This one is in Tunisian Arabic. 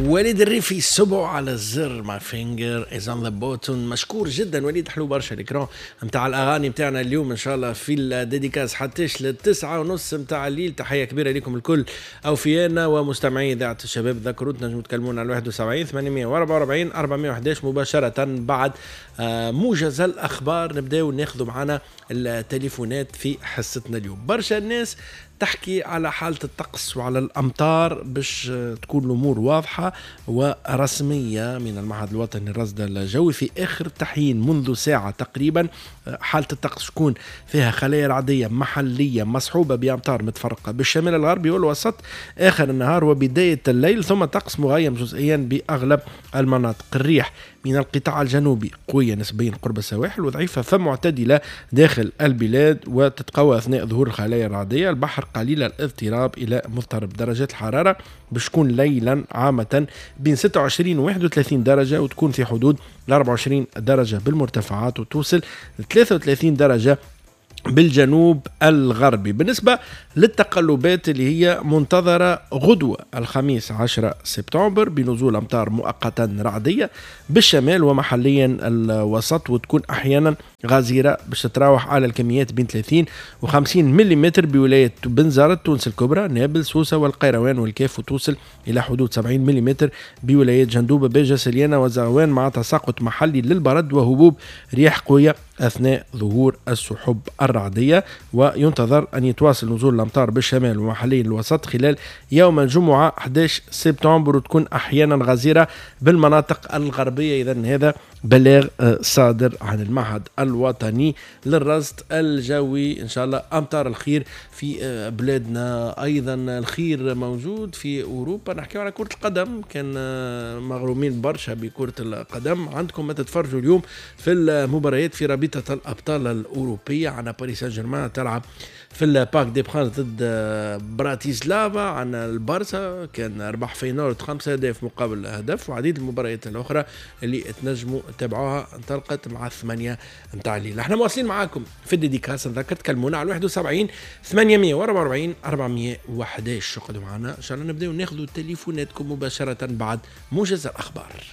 وليد الريفي، صبعه على الزر، my finger is on the button. مشكور جدا وليد، حلو برشا l'écran نتاع الاغاني نتاعنا اليوم. ان شاء الله في ال dédicace حتىش ل9:30 نتاع الليل. تحية كبيرة لكم الكل اوفيانا ومستمعي اذاعة الشباب. ذكروا تنجموا تكلمونا على 71 844 411 مباشرة بعد موجز الاخبار. نبداو ناخذوا معنا التليفونات في حصتنا اليوم. برشا الناس تحكي على حالة الطقس وعلى الأمطار. باش تكون الأمور واضحة ورسمية من المعهد الوطني للرصد الجوي، في آخر تحيين منذ ساعة تقريبا، حالة الطقس تكون فيها خلايا رعدية محلية مصحوبة بأمطار متفرقة بالشمال الغربي والوسط آخر النهار وبداية الليل، ثم طقس مغيم جزئيا بأغلب المناطق. الريح من القطاع الجنوبي قوية نسبيا قرب السواحل وضعيفة فمعتدلة داخل البلاد، وتتقوى أثناء ظهور الخلايا الرعدية. البحر قليل الاضطراب إلى مضطرب. درجات الحرارة باش تكون ليلا عامة بين 26 و 31 درجة، وتكون في حدود ال 24 درجة بالمرتفعات، وتوصل ل 33 درجة بالجنوب الغربي. بالنسبة للتقلبات اللي هي منتظرة غدوة الخميس 10 سبتمبر، بنزول أمطار مؤقتا رعدية بالشمال ومحليا الوسط، وتكون أحيانا غزيرة باش تتراوح على الكميات بين 30 و 50 ملم بولاية بنزرت، تونس الكبرى، نابل، سوسة والقيروان والكاف، وتوصل إلى حدود 70 ملم بولايات جندوبة، باجة، سليانة وزغوان، مع تساقط محلي للبرد وهبوب رياح قوية أثناء ظهور السحب الرعدية. وينتظر أن يتواصل نزول الأمطار بالشمال ومحليا الوسط خلال يوم الجمعة 11 سبتمبر، وتكون أحيانا غزيرة بالمناطق الغربية. إذا هذا بلاغ صادر عن المعهد الوطني للرصد الجوي. إن شاء الله أمطار الخير في بلادنا. أيضا الخير موجود في أوروبا. نحكي على كرة القدم، كان مغرومين برشا بكرة القدم، عندكم ما تتفرجوا اليوم في المباريات في رابطة الأبطال الأوروبية. عنا باريس سان جيرمان تلعب في ال Parc des Princes ضد براتيسلافا. عنا البارسا كان ربح فينورد 5 أهداف مقابل هدف، وعديد المباريات الأخرى اللي تنجموا تتابعوها انطلقت مع 8 متاع الليل. احنا مواصلين معاكم في ال dédicace. نذكر تكلمونا على 71 844 411. قعدوا معنا، ان شاء الله نبداو ناخذوا تليفوناتكم مباشرة بعد موجز الأخبار.